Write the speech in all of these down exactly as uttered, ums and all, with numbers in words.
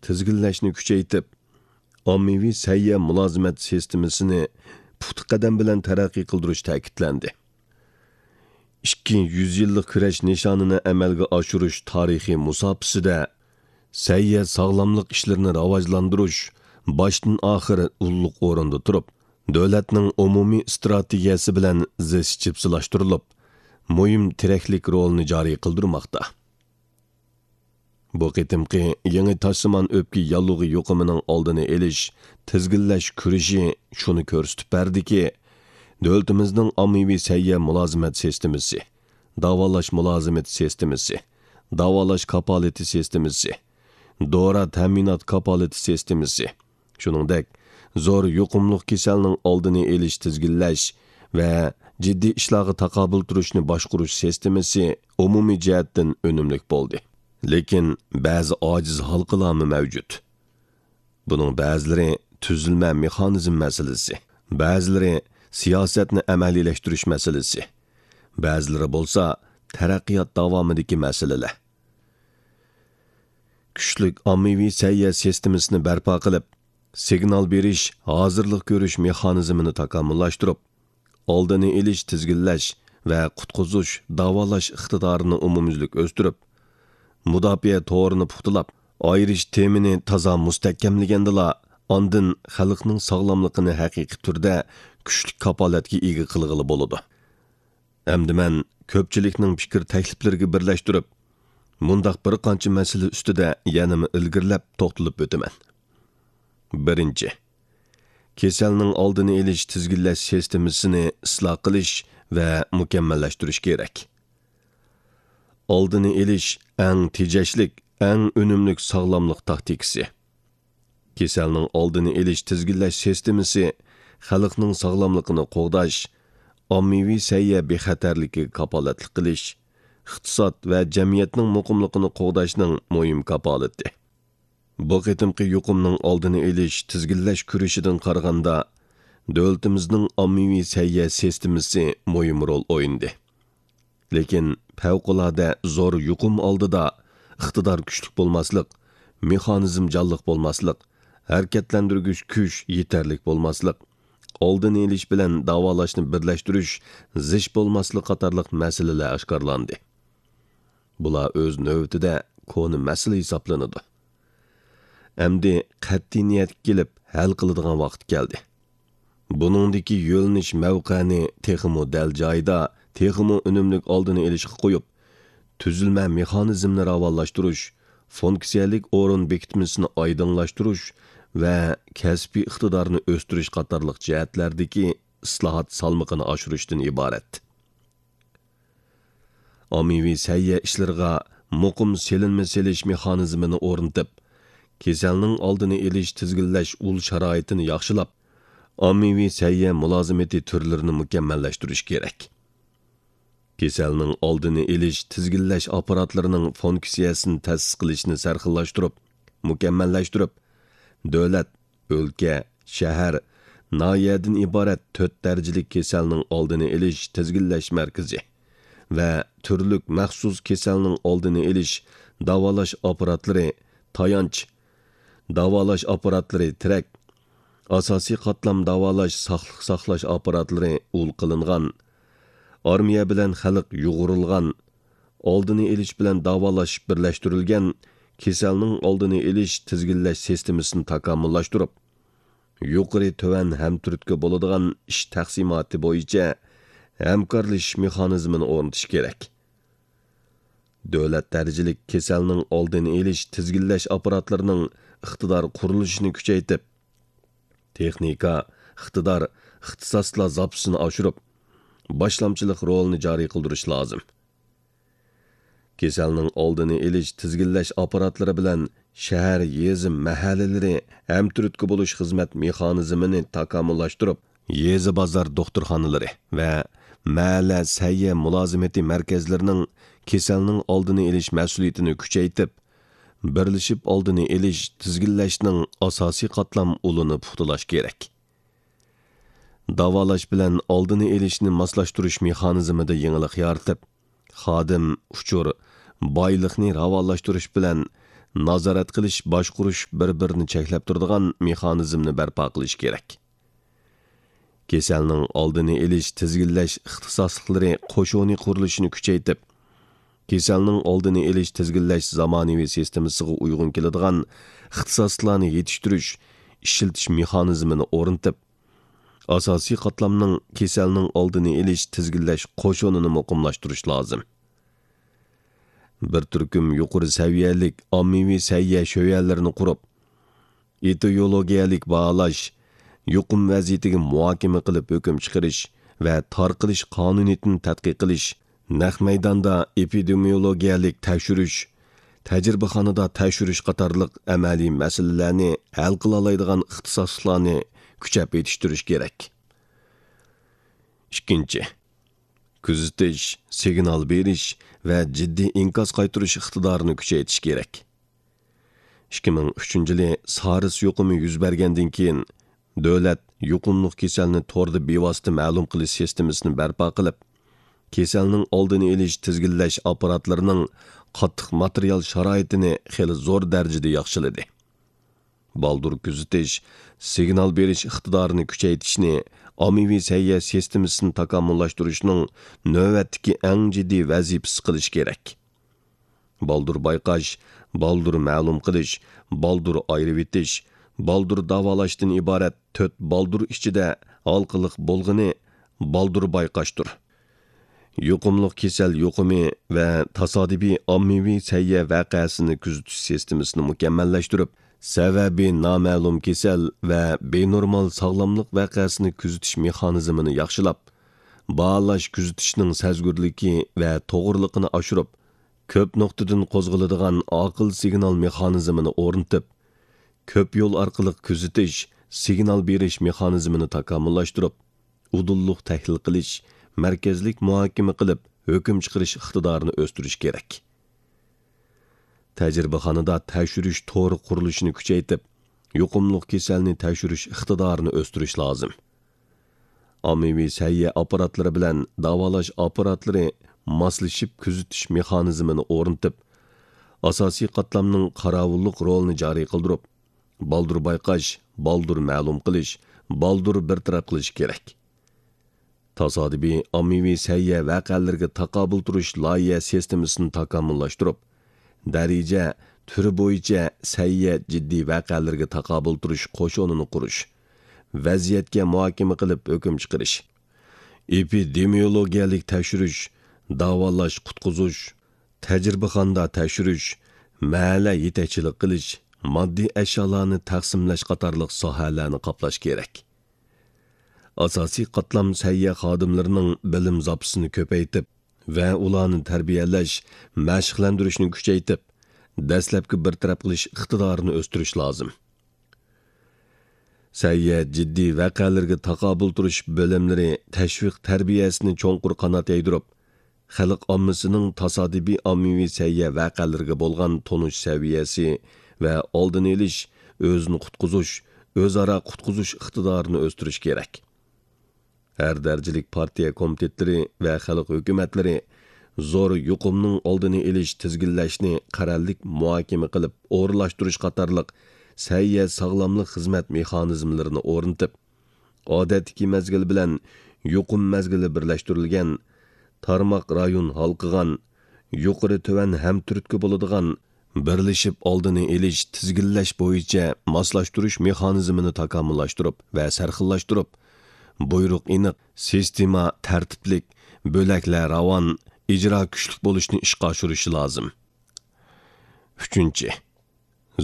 تىزگىنلەشنى كۈچەيتىپ، ئاممىۋى سەھىيە مۇلازىمەت سىستېمىسىنى پۇختا قەدەم بىلەن تەرەققىي قىلدۇرۇش تەكىتلەندى. ئىككى يۈز يىللىق كۈرەش نىشانىنى ئەمەلگە ئاشۇرۇش تارىخىي مۇساپىسىدە سەھىيە ساغلاملىق ئىشلىرىنى راۋاجلاندۇرۇش باشتىن ئاخىر ئۇللۇق ئورۇندا تۇرۇپ، دۆلەتنىڭ ئومۇمىي ئىستراتېگىيەسى بىلەن زىچ جىپسىلاشتۇرۇلۇپ، مۇھىم تىرەكلىك رولىنى جارى قىلدۇرماقتا. بۇ قېتىمقى يېڭى تاشسىمان ئۆپكە ياللۇغى يۇقۇمىنىڭ ئالدىنى ئېلىش، تىزگىنلەش كۈرىشى شۇنى كۆرسىتىپ بەردىكى، دۆلىتىمىزنىڭ ئاممىۋى سەھىيە مۇلازىمەت سىستېمىسى، داۋالاش مۇلازىمىتى سىستېمىسى، داۋالاش كاپالىتى سىستېمىسى، دورا تەمىنات كاپالىتى سىستېمىسى، شۇنىڭدەك زور يۇقۇملۇق كېسەلنىڭ ئالدىنى ئېلىش، تىزگىنلەش ۋە جىددىي ئىشلارغا تاقابىل تۇرۇشنى باشقۇرۇش سىستېمىسى ئومۇمىي جەھەتتىن ئۈنۈملۈك بولدى. لېكىن بەزى ئاجىز ھالقىلارمۇ مەۋجۇت. بۇنىڭ بەزىلىرى تۈزۈلمە مېخانىزم مەسىلىسى، بەزىلىرى سىياسەتنى ئەمەلىيلەشتۈرۈش مەسىلىسى، بەزىلىرى بولسا تەرەققىيات داۋامىدىكى مەسىلىلەر. كۈچلۈك ئاممىۋى سەھىيە سىستېمىسىنى بەرپا قىلىپ، سىگنال بېرىش، ھازىرلىق كۆرۈش مېخانىزمىنى تاكامۇللاشتۇرۇپ، ئالدىنى ئېلىش، تىزگىنلەش ۋە قۇتقۇزۇش، داۋالاش ئىقتىدارىنى ئومۇميۈزلۈك ئۆستۈرۈپ، مۇداپىئە تورىنى پۇختىلاپ، ئايرىش تېمىنى تازا مۇستەھكەملىگەندىلا، ئاندىن خەلقنىڭ ساغلاملىقىنى ھەقىقىي تۈردە كۈچلۈك كاپالەتكە ئىگە قىلغىلى بولىدۇ. ئەمدى مەن كۆپچىلىكنىڭ پىكىر تەكلىپلىرىگە بىرلەشتۈرۈپ، مۇنداق بىر قانچە مەسىلە ئۈستىدە يەنىمۇ ئىلگىرىلەپ توختىلىپ ئۆتىمەن. بىرىنچى، كېسەلنىڭ ئالدىنى ئېلىش، تىزگىنلەش سىستېمىسىنى ئىسلاھ قىلىش ۋە مۇكەممەللەشتۈرۈش كېرەك. ئالدىنى ئېلىش ئەڭ تېجەشلىك، ئەڭ ئۈنۈملۈك ساغلاملىق تاكتىكىسى. كېسەلنىڭ ئالدىنى ئېلىش، تىزگىنلەش سىستېمىسى خەلقنىڭ ساغلاملىقىنى قوغداش، ئاممىۋى سەھىيە بىخەتەرلىكىگە كاپالەتلىك قىلىش، ئىقتىساد ۋە جەمئىيەتنىڭ مۇقىملىقىنى قوغداشنىڭ مۇھىم كاپالىتى. بۇ قېتىمقى يۇقۇمنىڭ ئالدىنى ئېلىش، تىزگىنلەش كۈرىشىدىن قارىغاندا، دۆلىتىمىزنىڭ ئاممىۋى سەھىيە سىستېمىسى مۇھىم رول ئوينىدى. لېكىن پەۋقۇلئاددە زور يۇقۇم ئالدىدا ئىقتىدار كۈچلۈك بولماسلىق، مېخانىزم جانلىق بولماسلىق، ھەرىكەتلەندۈرگۈچ كۈچ يېتەرلىك بولماسلىق، ئالدىنى ئېلىش بىلەن داۋالاشنى بىرلەشتۈرۈش زىچ بولماسلىق قاتارلىق مەسىلىلەر ئاشكارىلاندى. بۇلار ئۆز نۆۋىتىدە كونا مەسىلە ھېسابلىنىدۇ. ئەمدى قەتئىي نىيەتكە كېلىپ ھەل قىلىدىغان ۋاقىت كەلدى. بۇنىڭدىكى يۆنىلىش مەۋقەنى تېخىمۇ دەل جايىدا، تېخىمۇ ئۈنۈملۈك ئالدىنى ئېلىشقا قويۇپ، تۈزۈلمە مېخانىزمنى راۋانلاشتۇرۇش، فۇنكسىيەلىك ئورۇن بېكىتمىسىنى ئايدىڭلاشتۇرۇش ۋە كەسپىي ئىقتىدارنى ئۆستۈرۈش قاتارلىق جەھەتلەردىكى ئىسلاھات سالمىقىنى ئاشۇرۇشتىن ئىبارەت. ئاممىۋى سەھىيە ئىشلىرىغا مۇقىم سېلىنما سېلىش مېخانىزمىنى ئورنىتىپ، كېسەلنىڭ ئالدىنى ئېلىش، تىزگىنلەش ئۇل شارائىتىنى ياخشىلاپ، ئاممىۋى سەھىيە مۇلازىمىتى تۈرلىرىنى مۇكەممەللەشتۈرۈش كېرەك. كېسەلنىڭ ئالدىنى ئېلىش، تىزگىنلەش ئاپپاراتلىرىنىڭ فۇنكسىيەسىنى تەسىس قىلىشنى سەرخىللاشتۇرۇپ، مۇكەممەللەشتۈرۈپ، دۆلەت، ئۆلكە، شەھەر، ناھىيەدىن ئىبارەت تۆت دەرىجىلىك كېسەلنىڭ ئالدىنى ئېلىش، تىزگىنلەش مەركىزى ۋە تۈرلۈك مەخسۇس كېسەلنىڭ ئالدىنى ئېلىش، داۋالاش ئاپپاراتلىرى، تايانچ، داۋالاش ئاپپاراتلىرى، تىرەك، ئاساسىي قاتلام داۋالاش، ساقلىق ساقلاش ئاپپاراتلىرى ئۇل قىلىنغان، ئارمىيە بىلەن خەلق يۇغۇرۇلغان، ئالدىنى ئېلىش بىلەن داۋالاش بىرلەشتۈرۈلگەن كېسەلنىڭ ئالدىنى ئېلىش، تىزگىنلەش سىستېمىسىنى تاكامۇللاشتۇرۇپ، يۇقىرى تۆۋەن ھەمتۈرتكە بولىدىغان ئىش تەقسىماتى بويىچە ھەمكارلىشىش مېخانىزمىنى ئورنىتىش كېرەك. دۆلەت دەرىجىلىك كېسەلنىڭ ئالدىنى ئېلىش، تىزگىنلەش ئاپپاراتلىرىنىڭ ئىقتىدار قۇرۇلۇشىنى كۈچەيتىپ، تېخنىكا، ئىقتىدار، ئىختىساسلار زاپىسىنى ئاشۇرۇپ، باشلامچىلىق رولىنى جارى قىلدۇرۇش لازىم. كېسەلنىڭ ئالدىنى ئېلىش، تىزگىنلەش ئاپپاراتلىرى بىلەن شەھەر، يېزا، مەھەللىلىرى ھەمتۈرتكە بولۇش خىزمەت مېخانىزمىنى تاكامۇللاشتۇرۇپ، يېزا، بازار دوختۇرخانىلىرى ۋە مەھەللە سەھىيە مۇلازىمىتى مەركەزلىرىنىڭ كېسەلنىڭ ئالدىنى ئېلىش مەسئۇلىيىتىنى كۈچەيتىپ، بىرلىشىپ ئالدىنى ئېلىش، تىزگىنلەشنىڭ ئاساسىي قاتلام ئۇلىنى پۇختىلاش كېرەك. داۋالاش بىلەن ئالدىنى ئېلىشنى ماسلاشتۇرۇش مېخانىزمىدا يېڭىلىق يارىتىپ، خادىم، ئۇچۇر، بايلىقنى راۋانلاشتۇرۇش بىلەن نازارەت قىلىش، باشقۇرۇش، بىر-بىرىنى چەكلەپ تۇرىدىغان مېخانىزمنى بەرپا قىلىش كېرەك. كېسەلنىڭ ئالدىنى ئېلىش، تىزگىنلەش ئىختىساسلىقلىرى قوشۇنى قۇرۇلۇشىنى كۈچەيتىپ، كېسەلنىڭ ئالدىنى ئېلىش، تىزگىنلەش زامانىۋى سىستېمىسىغا ئۇيغۇن كېلىدىغان ئىختىساسلىقلارنى يېتىشتۈرۈش، ئىشلىتىش مېخانىزمىنى ئورنىتىپ، ئاساسىي قاتلامنىڭ كېسەلنىڭ ئالدىنى ئېلىش، تىزگىنلەش قوشۇنىنى مۇقىملاشتۇرۇش لازىم. بىر تۈركۈم يۇقىرى سەۋىيەلىك ئاممىۋى سەھىيە شۆيەنلىرىنى قۇرۇپ، ئېتىيولوگىيەلىك باھالاش، يۇقۇم ۋەزىيىتىگە مۇھاكىمە قىلىپ ھۆكۈم چىقىرىش ۋە تارقىلىش قانۇنىيىتىنى تەتقىق قىلىش، نەق مەيداندا ئېپىدېمىيولوگىيەلىك تەكشۈرۈش، تەجرىبىخانىدا تەكشۈرۈش قاتارلىق ئەمەلىي مەسىلىلەرنى ھەل قىلالايدىغان ئىختىساسلىقلارنى كۈچەپ يېتىشتۈرۈش كېرەك. ئىككىنچى، كۆزىتىش، سىگنال بېرىش ۋە جىددىي ئىنكاس قايتۇرۇش ئىقتىدارىنى كۈچەيتىش كېرەك. ئىككى مىڭ ئۈچىنچى يىلى سارس يۇقۇمى يۈز بەرگەندىن كېيىن، دۆلەت يۇقۇملۇق كېسەلنى توردا بىۋاسىتە مەلۇم قىلىش سىستېمىسىنى بەرپا قىلىپ، كېسەلنىڭ ئالدىنى ئېلىش، تىزگىنلەش ئاپپاراتلىرىنىڭ قاتتىق ماتېرىيال شارائىتىنى خېلى زور دەرىجىدە ياخشىلىدى. بالدۇر كۆزىتىش، سىگنال بېرىش ئىقتىدارىنى كۈچەيتىشنى ئاممىۋى سەھىيە سىستېمىسىنى تاكامۇللاشتۇرۇشنىڭ نۆۋەتتىكى ئەڭ جىددىي ۋەزىپىسى قىلىش كېرەك. بالدۇر بايقاش، بالدۇر مەلۇم قىلىش، بالدۇر ئايرىۋېتىش، بالدۇر داۋالاشتىن ئىبارەت تۆت بالدۇر ئىچىدە ھالقىلىق بولغىنى بالدۇر بايقاشتۇر. يۇقۇملۇق كېسەل يۇقۇمى ۋە تاسادىپىي ئاممىۋى سەھىيە ۋەقەسىنى كۆزىتىش سىستېمىسىنى مۇكەممەللەشتۈرۈپ، سەۋەبى نامەلۇم كېسەل ۋە بىنورمال ساغلاملىق ۋەقەسىنى كۆزىتىش مېخانىزمىنى ياخشىلاپ، باھالاش كۆزىتىشنىڭ سەزگۈرلۈكى ۋە توغرىلىقىنى ئاشۇرۇپ، كۆپ نۇقتىدىن قوزغىلىدىغان ئاقىل سىگنال مېخانىزمىنى ئورنىتىپ، كۆپ يول ئارقىلىق كۆزىتىش، سىگنال بېرىش مېخانىزمىنى تاكامۇللاشتۇرۇپ، ئۇدۇللۇق تەھلىل قىلىش، مەركەزلىك مۇھاكىمە قىلىپ ھۆكۈم چىقىرىش ئىقتىدارىنى ئۆستۈرۈش كېرەك. تەجرىبىخانىدا تەكشۈرۈش تورى قۇرۇلۇشىنى كۈچەيتىپ، يۇقۇملۇق كېسەلنى تەكشۈرۈش ئىقتىدارىنى ئۆستۈرۈش لازىم. ئاممىۋى سەھىيە ئاپپاراتلىرى بىلەن داۋالاش ئاپپاراتلىرى ماسلىشىپ كۆزىتىش مېخانىزمىنى ئورنىتىپ، ئاساسىي قاتلامنىڭ قاراۋۇللۇق رولىنى جارى قىلدۇرۇپ، بالدۇر بايقاش، بالدۇر مەلۇم قىلىش، بالدۇر بىر تەرەپ قىلىش كېرەك. تاسادىپىي ئاممىۋى سەھىيە ۋەقەلىرىگە تاقابىل تۇرۇش لايىھە سىستېمىسىنى تاكامۇللاشتۇرۇپ، دەرىجە، تۈرى بويىچە سەھىيە جىددىي ۋەقەلىرىگە تاقابىل تۇرۇش قوشۇنىنى قۇرۇش، ۋەزىيەتكە مۇھاكىمە قىلىپ ھۆكۈم چىقىرىش، ئېپىدېمىيولوگىيەلىك تەكشۈرۈش، داۋالاش، قۇتقۇزۇش، تەجرىبىخانىدا تەكشۈرۈش، مەھەللە يېتەكچىلىك قىلىش، ماددىي ئەشيالارنى تەقسىملەش قاتارلىق ساھەلەرنى قاپلاش كېرەك. ئاساسىي قاتلام سەھىيە خادىملىرىنىڭ بىلىم زاپىسىنى كۆپەيتىپ ۋە ئۇلارنى تەربىيەلەش، مەشىقلەندۈرۈشنى كۈچەيتىپ، دەسلەپكى بىر تەرەپ قىلىش ئىقتىدارىنى ئۆستۈرۈش لازىم. سەھىيە جىددىي ۋەقەلىرىگە تاقابىل تۇرۇش بۆلۈملىرى تەشۋىق تەربىيەسىنى چوڭقۇر قانات يايدۇرۇپ، خەلق ئاممىسىنىڭ تاسادىپىي ئاممىۋى سەھىيە ۋەقەلىرىگە بولغان تونۇش سەۋىيەسى ۋە ئالدىنى ئېلىش، ئۆزىنى قۇتقۇزۇش، ئۆزئارا قۇتقۇزۇش ئىقتىدارىنى ئۆستۈرۈش كېرەك. ھەر دەرىجىلىك پارتىيە كومىتېتلىرى ۋە خەلق ھۆكۈمەتلىرى زور يۇقۇمنىڭ ئالدىنى ئېلىش، تىزگىنلەشنى قەرەللىك مۇھاكىمە قىلىپ ئورۇنلاشتۇرۇش قاتارلىق سەھىيە ساغلاملىق خىزمەت مېخانىزملىرىنى ئورنىتىپ، ئادەتتىكى مەزگىل بىلەن يۇقۇم مەزگىلى بىرلەشتۈرۈلگەن، تارماق رايون ھالقىغان، يۇقىرى تۆۋەن ھەمتۈرتكە بولىدىغان، بىرلىشىپ ئالدىنى ئېلىش، تىزگىنلەش بويىچە ماسلاشتۇرۇش مېخانىزمىنى تاكامۇللاشتۇرۇپ ۋە سەرخىللاشتۇرۇپ، بۇيرۇق ئېنىق، سىستېما تەرتىپلىك، بۆلەكلەر راۋان، ئىجرا كۈچلۈك بولۇشنى ئىشقا ئاشۇرۇشى لازىم. ئۈچىنچى،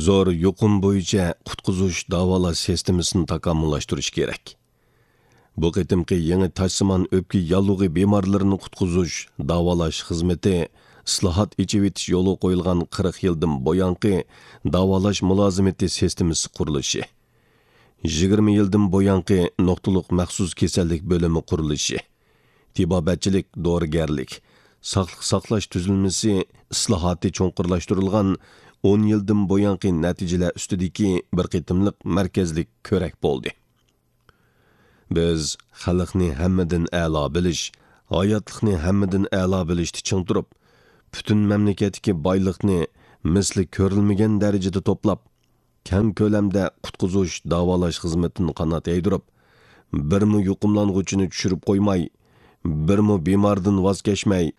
زور يۇقۇم بويىچە قۇتقۇزۇش، داۋالاش سىستېمىسىنى تاكامۇللاشتۇرۇش كېرەك. بۇ قېتىمقى يېڭى تاشسىمان ئۆپكە ياللۇغى بىمارلىرىنى قۇتقۇزۇش، داۋالاش خىزمىتى ئىسلاھات، ئېچىۋېتىش يولغا قويۇلغان قىرىق يىلدىن بۇيانقى داۋالاش مۇلازىمىتى سىستېمىسى قۇرۇلۇشى، يىگىرمە يىلدىن بۇيانقى نۇقتىلىق مەخسۇس كېسەللىك بۆلۈمى قۇرۇلۇشى، تېبابەتچىلىك، دورىگەرلىك، ساقلىق ساقلاش تۈزۈلمىسى ئىسلاھاتى چوڭقۇرلاشتۇرۇلغان ئون يىلدىن بۇيانقى نەتىجىلەر ئۈستىدىكى بىر قېتىملىق مەركەزلىك كۆرەك بولدى. بىز خەلقنى ھەممىدىن ئەلا بىلىش، ھاياتلىقنى ھەممىدىن ئەلا بىلىشتە چىڭ تۇرۇپ، پۈتۈن مەملىكەتتىكى بايلىقنى مىسلى كۆرۈلمىگەن دەرىجىدە توپلاپ، كەڭ كۆلەمدە قۇتقۇزۇش، داۋالاش خىزمىتىنى قانات يايدۇرۇپ، بىرمۇ يۇقۇملانغۇچىنى چۈشۈرۈپ قويماي، بىرمۇ بىماردىن ۋاز كەچمەي،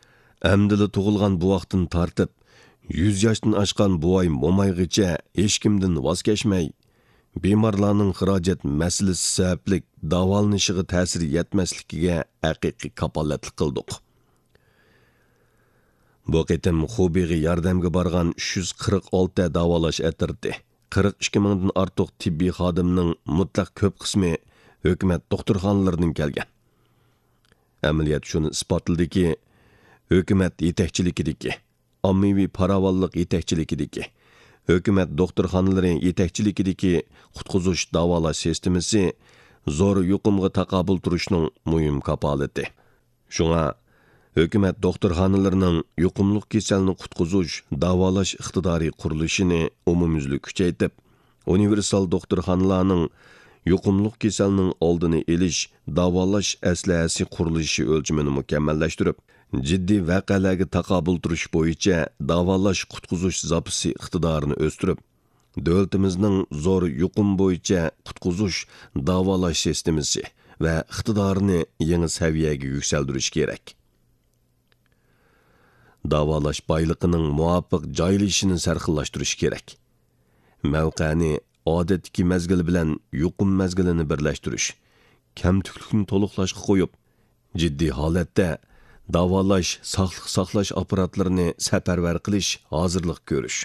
ئەمدىلا تۇغۇلغان بوۋاقتىن تارتىپ، يۈز ياشتىن ئاشقان بوۋاي-مومايغىچە ھېچكىمدىن ۋاز كەچمەي، بىمارلارنىڭ خىراجەت مەسىلىسى سەۋەبلىك داۋالىنىشىغا تەسىر يەتمەسلىكىگە ھەقىقىي كاپالەتلىك قىلدۇق. بۇ قېتىم خۇبېيغا ياردەمگە بارغان ئۈچ يۈز قىرىق ئالتە داۋالاش ئەترىتى، قىرىق ئىككى مىڭدىن ئارتۇق تېببىي خادىمنىڭ مۇتلەق كۆپ قىسمى ھۆكۈمەت دوختۇرخانىلىرىدىن كەلگەن. ئەمەلىيەت شۇنى ئىسپاتلىدىكى، ھۆكۈمەت يېتەكچىلىكىدىكى، ئاممىۋى پاراۋانلىق يېتەكچىلىكىدىكى، ھۆكۈمەت دوختۇرخانىلىرى يېتەكچىلىكىدىكى قۇتقۇزۇش داۋالاش سىستېمىسى زور يۇقۇمغا تاقابىل تۇرۇشنىڭ مۇھىم كاپالىتى. شۇڭا، ھۆكۈمەت دوختۇرخانىلىرىنىڭ يۇقۇملۇق كېسەلنى قۇتقۇزۇش، داۋالاش ئىقتىدارى قۇرۇلۇشىنى ئومۇميۈزلۈك كۈچەيتىپ، ئۇنىۋېرسال دوختۇرخانىلارنىڭ يۇقۇملۇق كېسەلنىڭ ئالدىنى ئېلىش، داۋالاش ئەسلىھەسى قۇرۇلۇشى ئۆلچىمىنى مۇكەممەللەشتۈرۈپ، جىددىي ۋەقەلەرگە تاقابىل تۇرۇش بويىچە داۋالاش، قۇتقۇزۇش زاپىسى ئىقتىدارىنى ئۆستۈرۈپ، دۆلىتىمىزنىڭ زور يۇقۇم بويىچە قۇتقۇزۇش، داۋالاش سىستېمىسى ۋە ئىقتىدارىنى يېڭى سەۋىيەگە يۈكسەلدۈرۈش كېرەك. داۋالاش بايلىقىنىڭ مۇۋاپىق جايلىشىشىنى سەرخىللاشتۇرۇش كېرەك. مەۋقەنى ئادەتتىكى مەزگىل بىلەن يۇقۇم مەزگىلىنى بىرلەشتۈرۈش، كەمتۈكلۈكنى تولۇقلاشقا قويۇپ، جىددىي ھالەتتە داۋالاش، ساقلىق ساقلاش ئاپپاراتلىرىنى سەپەرۋەر قىلىش، ھازىرلىق كۆرۈش،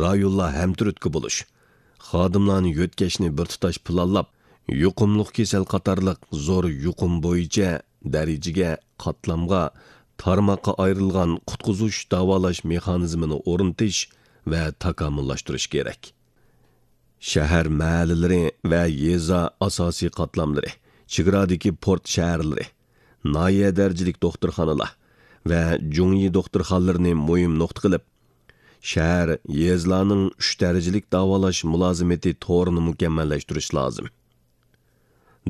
رايونلار ھەمتۈرتكە بولۇش، خادىملارنى يۆتكەشنى بىر تۇتاش پىلانلاپ، يۇقۇملۇق كېسەل قاتارلىق زور يۇقۇم بويىچە دەرىجىگە، قاتلامغا، تارماققا ئايرىلغان قۇتقۇزۇش، داۋالاش مېخانىزمىنى ئورنىتىش ۋە تاكامۇللاشتۇرۇش كېرەك. شەھەر مەھەللىلىرى ۋە يېزا ئاساسىي قاتلاملىرى، چېگرادىكى پورت شەھەرلىرى، ناھىيە دەرىجىلىك دوختۇرخانىلار ۋە جۇڭيى دوختۇرخانىلىرىنى مۇھىم نۇقتا قىلىپ، شەھەر، يېزىلارنىڭ ئۈچ دەرىجىلىك داۋالاش مۇلازىمىتى تورىنى مۇكەممەللەشتۈرۈش لازىم.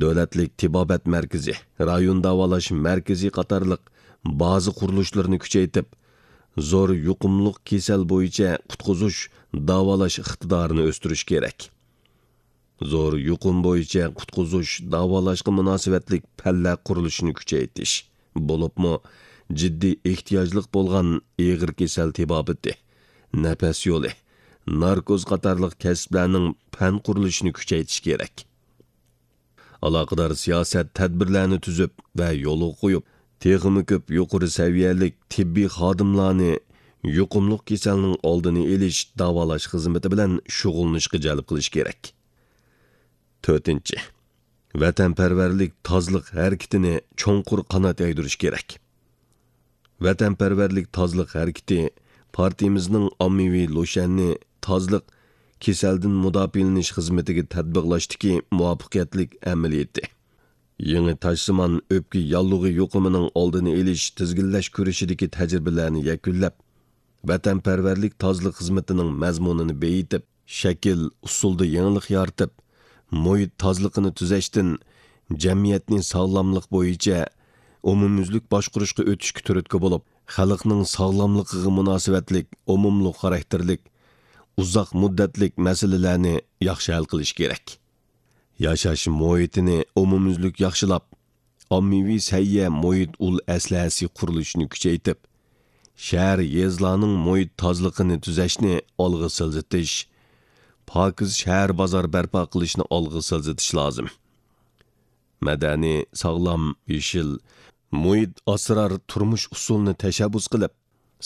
دۆلەتلىك تېبابەت مەركىزى، رايون داۋالاش مەركىزى قاتارلىق بازا قۇرۇلۇشلىرىنى كۈچەيتىپ، زور يۇقۇملۇق كېسەل بويىچە قۇتقۇزۇش، داۋالاش ئىقتىدارىنى ئۆستۈرۈش كېرەك. زور يۇقۇم بويىچە قۇتقۇزۇش، داۋالاشقا مۇناسىۋەتلىك پەنلەر قۇرۇلۇشىنى كۈچەيتىش، بولۇپمۇ جىددىي ئېھتىياجلىق بولغان ئېغىر كېسەل تېبابىتى، نەپەس يولى، ناركوز قاتارلىق كەسىپلەرنىڭ پەن قۇرۇلۇشىنى كۈچەيتىش كېرەك. ئالاقىدار سىياسەت، تەدبىرلەرنى تۈزۈپ ۋە يولغا قويۇپ، تېخىمۇ كۆپ يۇقىرى سەۋىيەلىك تېببىي خادىملارنى يۇقۇملۇق كېسەلنىڭ ئالدىنى ئېلىش، داۋالاش خىزمىتى بىلەن شۇغۇللىنىشقا جەلپ قىلىش كېرەك. تۆتىنچى، ۋەتەنپەرۋەرلىك تازىلىق ھەرىكىتىنى چوڭقۇر قانات يايدۇرۇش كېرەك. ۋەتەنپەرۋەرلىك تازىلىق ھەرىكىتى پارتىيىمىزنىڭ ئاممىۋى لۇشيەننى تازىلىق، كېسەلدىن مۇداپىئەلىنىش خىزمىتىگە تەتبىقلاشتىكى مۇۋەپپەقىيەتلىك ئەمەلىيىتى. يېڭى تاشسىمان ئۆپكە ياللۇغى يۇقۇمىنىڭ ئالدىنى ئېلىش، تىزگىنلەش كۈرىشىدىكى تەجرىبىلەرنى يەكۈنلەپ، ۋەتەنپەرۋەرلىك تازىلىق خىزمىتىنىڭ مەزمۇنىنى بېيىتىپ، شەكىل، ئۇسۇلدا يېڭىلىق يارىتىپ، مۇھىت تازىلىقىنى تۈزەشتىن جەمئىيەتنى ساغلاملىق بويىچە ئومۇميۈزلۈك باشقۇرۇشقا ئۆتۈشكە تۈرتكە بولۇپ، خەلقنىڭ ساغلاملىقىغا مۇناسىۋەتلىك ئومۇملۇق خاراكتېرلىك، ئۇزاق مۇددەتلىك مەسىلىلەرنى ياخشى ھەل قىلىش كېرەك. ياشاش مۇھىتىنى ئومۇميۈزلۈك ياخشىلاپ، ئاممىۋى سەھىيە مۇھىت ئۇل ئەسلىھەسى قۇرۇلۇشىنى كۈچەيتىپ، شەھەر، يېزىلارنىڭ مۇھىت تازىلىقىنى تۈزەشنى ئالغا سىلجىتىش، پاكىز شەھەر، بازار بەرپا قىلىشنى ئالغا سىلجىتىش لازىم. مەدەنىي، ساغلام، يېشىل، مۇھىت ئاسرار تۇرمۇش ئۇسۇلىنى تەشەببۇس قىلىپ،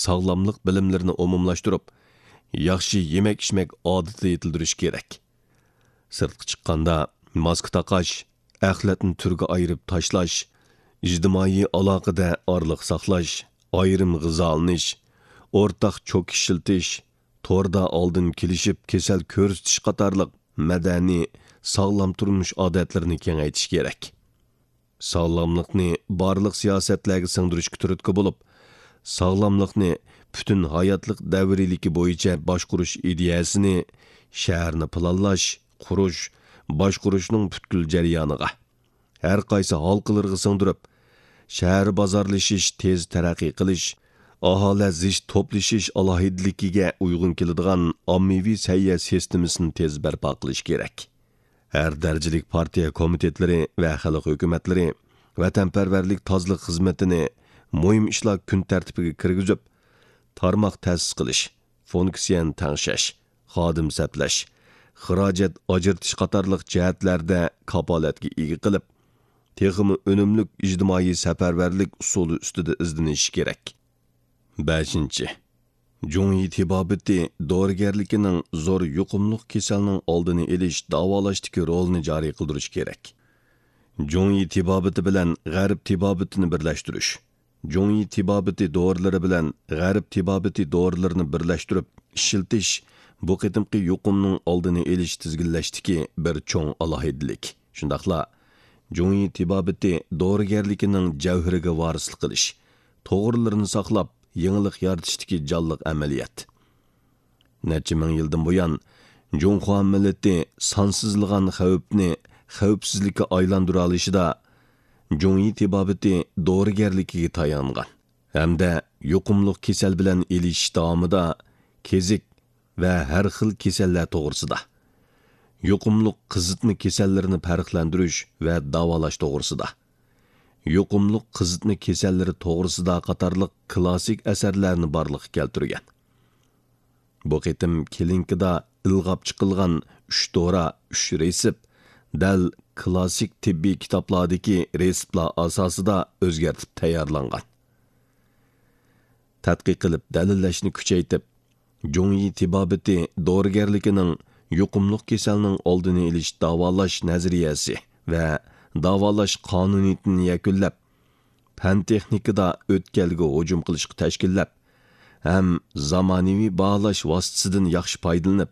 ساغلاملىق بىلىملىرىنى ئومۇملاشتۇرۇپ، ياخشى يېمەك-ئىچمەك ئادىتى يېتىلدۈرۈش كېرەك. سىرتقا چىققاندا، ماسكا تاقاش، ئەخلەتنى تۈرگە ئايرىپ تاشلاش، ئىجتىمائىي ئالاقىدە ئارىلىق ساقلاش، ئايرىم غىزالىنىش، ئورتاق چوكا ئىشلىتىش، توردا ئالدىن كېلىشىپ كېسەل كۆرسىتىش قاتارلىق مەدەنىي، ساغلام تۇرمۇش ئادەتلىرىنى كېڭەيتىش كېرەك. ساغلاملىقنى بارلىق سىياسەتلەرگە سىڭدۈرۈشكە تۈرتكە بولۇپ، ساغلاملىقنى پۈتۈن ھاياتلىق دەۋرىيلىكى بويىچە باشقۇرۇش ئىدىيەسىنى شەھەرنى پىلانلاش، قۇرۇش، باشقۇرۇشنىڭ پۈتكۈل جەريانىغا، ھەر قايسى ھالقىلىرىغا سىڭدۈرۈپ، شەھەر بازارلىشىش تېز تەرەققىي قىلىش، ئاھالە زىچ توپلىشىش ئالاھىدىلىكىگە ئۇيغۇن كېلىدىغان ئاممىۋى سەھىيە سىستېمىسىنى تېز بەرپا قىلىش كېرەك. ھەر دەرىجىلىك پارتىيە كومىتېتلىرى ۋە خەلق ھۆكۈمەتلىرى ۋەتەنپەرۋەرلىك تازىلىق خىزمىتىنى مۇھىم ئىشلار كۈن تەرتىپىگە كىرگۈزۈپ، تارماق تەسىس قىلىش، فۇنكسىيەنى تەڭشەش، خادىم سەپلەش، خىراجەت ئاجرىتىش قاتارلىق جەھەتلەردە كاپالەتكە ئىگە قىلىپ، تېخىمۇ ئۈنۈملۈك ئىجتىمائىي سەپەرۋەرلىك ئۇسۇلى ئۈستىدە ئىزدىنىشى كېرەك. بەشىنچى، جۇڭيى تېبابىتى دورىگەرلىكىنىڭ زور يۇقۇملۇق كېسەلنىڭ ئالدىنى ئېلىش، داۋالاشتىكى رولىنى جارى قىلدۇرۇش كېرەك. جۇڭيى تېبابىتى بىلەن غەرب تېبابىتىنى بىرلەشتۈرۈش، جۇڭيى تېبابىتى دورىلىرى بىلەن غەرب تېبابىتى دورىلىرىنى بىرلەشتۈرۈپ ئىشلىتىش بۇ قېتىمقى يۇقۇمنىڭ ئالدىنى ئېلىش، تىزگىنلەشتىكى بىر چوڭ ئالاھىدىلىك. شۇنداقلا جۇڭيى تېبابىتى دورىگەرلىكىنىڭ جەۋھىرىگە ۋارىسلىق قىلىش، توغرىلىرىنى ساقلاپ، يېڭىلىق يارىتىشتىكى جانلىق ئەمەلىيەت. نەچچە مىڭ يىلدىن بۇيان، جۇڭخۇا مىللىتى سانسىزلىغان خەۋپنى خەۋپسىزلىككە ئايلاندۇرالىشىدا جۇڭيى تېبابىتى دورىگەرلىكىگە تايانغان ھەمدە يۇقۇملۇق كېسەل بىلەن ئېلىشىش داۋامىدا كېزىك ۋە ھەر خىل كېسەللەر توغرىسىدا، يۇقۇملۇق قىزىتما كېسەللىرىنى پەرقلەندۈرۈش ۋە داۋالاش توغرىسىدا، يۇقۇملۇق قىزىتما كېسەللىرى توغرىسىدا قاتارلىق كلاسسىك ئەسەرلەرنى بارلىققا كەلتۈرگەن. بۇ قېتىم كلىنىكىدا ئىلغاپ چىقىلغان ئۈچ دورا، ئۈچ رېتسېپ دەل كلاسسىك تېببىي كىتابلاردىكى رېتسېپلار ئاساسىدا ئۆزگەرتىپ تەييارلانغان. تەتقىق قىلىپ دەلىللەشنى كۈچەيتىپ، جۇڭيى تېبابىتى دورىگەرلىكىنىڭ يۇقۇملۇق كېسەلنىڭ ئالدىنى ئېلىش، داۋالاش نەزەرىيەسى ۋە داۋالاش قانۇنىيىتىنى يەكۈنلەپ، پەن-تېخنىكىدا ئۆتكەلگە ھۇجۇم قىلىشقا تەشكىللەپ، ھەم زامانىۋى باھالاش ۋاسىتىسىدىن ياخشى پايدىلىنىپ،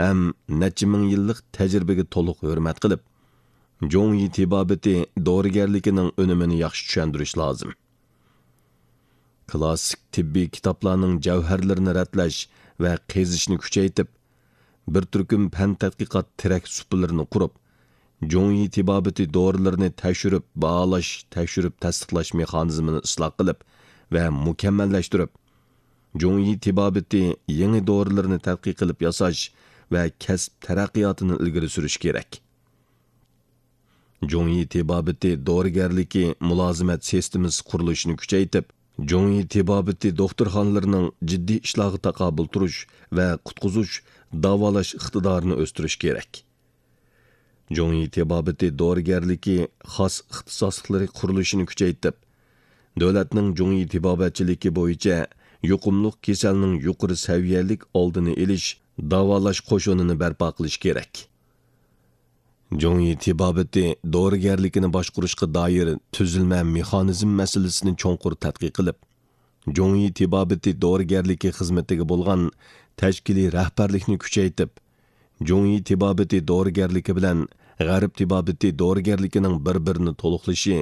ھەم نەچچە مىڭ يىللىق تەجرىبىگە تولۇق ھۆرمەت قىلىپ، جۇڭيى تېبابىتى دورىگەرلىكىنىڭ ئۈنۈمىنى ياخشى چۈشەندۈرۈش لازىم. كلاسسىك تېببىي كىتابلارنىڭ جەۋھەرلىرىنى رەتلەش ۋە قېزىشنى كۈچەيتىپ، بىر تۈركۈم پەن تەتقىقات تىرەك سۇپىلىرىنى قۇرۇپ، جۇڭيى تېبابىتى دورىلىرىنى تەكشۈرۈپ باھالاش، تەكشۈرۈپ تەستىقلاش مېخانىزمىنى ئىسلاھ قىلىپ ۋە مۇكەممەللەشتۈرۈپ، جۇڭيى تېبابىتى يېڭى دورىلىرىنى تەتقىق قىلىپ ياساش ۋە كەسىپ تەرەققىياتىنى ئىلگىرى سۈرۈش كېرەك. جۇڭيى تېبابىتى دورىگەرلىكى مۇلازىمەت سىستېمىسى قۇرۇلۇشىنى كۈچەيتىپ، جۇڭيى تېبابىتى دوختۇرخانىلىرىنىڭ جىددىي ئىشلارغا تاقابىل تۇرۇش ۋە قۇتقۇزۇش، داۋالاش ئىقتىدارىنى ئۆستۈرۈش كېرەك. جۇڭيى تېبابىتى دورىگەرلىكى خاس ئىختىساسلىقلىرى قۇرۇلۇشىنى كۈچەيتىپ، دۆلەتنىڭ جۇڭيى تېبابەتچىلىكى بويىچە يۇقۇملۇق كېسەلنىڭ يۇقىرى سەۋىيەلىك ئالدىنى ئېلىش، داۋالاش قوشۇنىنى بەرپا قىلىش كېرەك. جۇڭيى تېبابىتى دورىگەرلىكىنى باشقۇرۇشقا دائىر تۈزۈلمە مېخانىزم مەسىلىسىنى چوڭقۇر تەتقىق قىلىپ، جۇڭيى تېبابىتى دورىگەرلىكى خىزمىتىگە بولغان تەشكىلىي رەھبەرلىكنى كۈچەيتىپ، جۇڭيى تېبابىتى دورىگەرلىكى بىلەن غەرب تېبابىتى دورىگەرلىكىنىڭ بىر-بىرىنى تولۇقلىشى،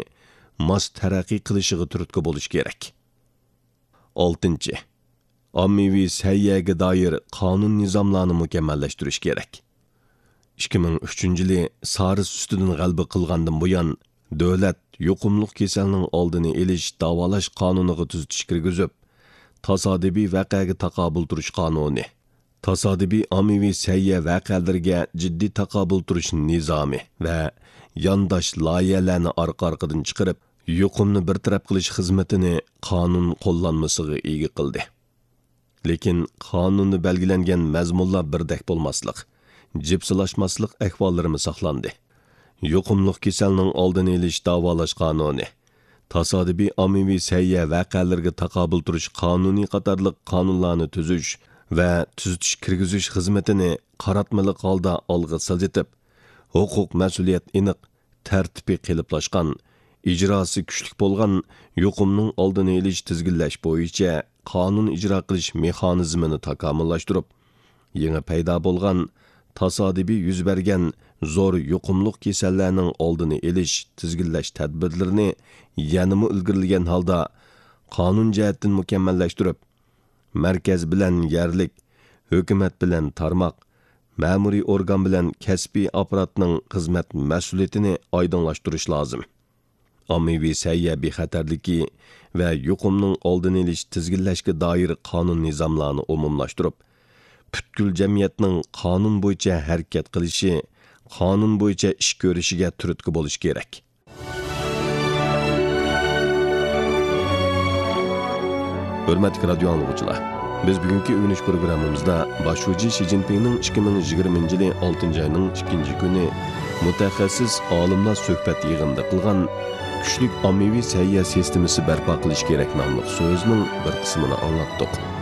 ماس تەرەققىي قىلىشىغا تۈرتكە بولۇش كېرەك. ئالتىنچى، ئاممىۋى سەھىيەگە دائىر قانۇن نىزاملارنى مۇكەممەللەشتۈرۈش كېرەك. ئىككى مىڭ ئۈچىنچى يىلى سارس ئۈستىدىن غەلىبە قىلغاندىن بۇيان، دۆلەت يۇقۇملۇق كېسەلنىڭ ئالدىنى ئېلىش، داۋالاش قانۇنىغا تۈزىتىش كىرگۈزۈپ، تاسادىپىي ۋەقەگە تاقابىل تۇرۇش قانۇنى، تاسادىپىي ئاممىۋى سەھىيە ۋەقەلىرىگە جىددىي تاقابىل تۇرۇش نىزامى ۋە يانداش لايىھەلەرنى ئارقا-ئارقىدىن چىقىرىپ، يۇقۇمنى بىر تەرەپ قىلىش خىزمىتىنى قانۇن قوللانمىسىغا ئىگە قىلدى. لېكىن قانۇندا بەلگىلەنگەن مەزمۇنلار بىردەك بولماسلىق، جىپسىلاشماسلىق ئەھۋاللىرىمۇ ساقلاندى. يۇقۇملۇق كېسەلنىڭ ئالدىنى ئېلىش، داۋالاش قانۇنى، تاسادىپىي ئاممىۋى سەھىيە ۋەقەلىرىگە تاقابىل تۇرۇش قانۇنى قاتارلىق قانۇنلارنى تۈزۈش ۋە تۈزىتىش كىرگۈزۈش خىزمىتىنى قاراتمىلىق ھالدا ئالغا سىلجىتىپ، ھوقۇق مەسئۇلىيەت ئېنىق، تەرتىپى قېلىپلاشقان، ئىجراسى كۈچلۈك بولغان يۇقۇمنىڭ ئالدىنى ئېلىش، تىزگىنلەش بويىچە قانۇن ئىجرا قىلىش مېخانىزمىنى تاكامۇللاشتۇرۇپ، يېڭى پەيدا بولغان، تاسادىپىي يۈز بەرگەن زور يۇقۇملۇق كېسەللەرنىڭ ئالدىنى ئېلىش، تىزگىنلەش تەدبىرلىرىنى يەنىمۇ ئىلگىرىلىگەن ھالدا قانۇن جەھەتتىن مۇكەممەللەشتۈرۈپ، مەركەز بىلەن يەرلىك، ھۆكۈمەت بىلەن تارماق، مەمۇرىي ئورگان بىلەن كەسپىي ئاپپاراتنىڭ خىزمەت مەسئۇلىيىتىنى ئايدىڭلاشتۇرۇش لازىم. ئاممىۋى سەھىيە بىخەتەرلىكى ۋە يۇقۇمنىڭ ئالدىنى ئېلىش، تىزگىنلەشكە دائىر قانۇن نىزاملارنى ئومۇملاشتۇرۇپ، پۈتكۈل جەمئىيەتنىڭ قانۇن بويىچە ھەرىكەت قىلىشى، قانۇن بويىچە ئىش كۆرۈشىگە تۈرتكە بولۇش كېرەك. ھۆرمەتلىك رادىيو ئاڭلىغۇچىلار، بىز بۈگۈنكى ئۆگىنىش پروگراممىمىزدا باش شۇجى شى جىنپىڭنىڭ ئىككى مىڭ يىگىرمىنچى يىلى ئالتىنچى ئاينىڭ ئىككىنچى كۈنى مۇتەخەسسىس ئالىملار سۆھبەت يىغىنىدا قىلغان كۈچلۈك ئاممىۋى سەھىيە سىستېمىسى بەرپا قىلىش كېرەك ناملىق سۆزىنىڭ بىر قىسمىنى ئاڭلاتتۇق.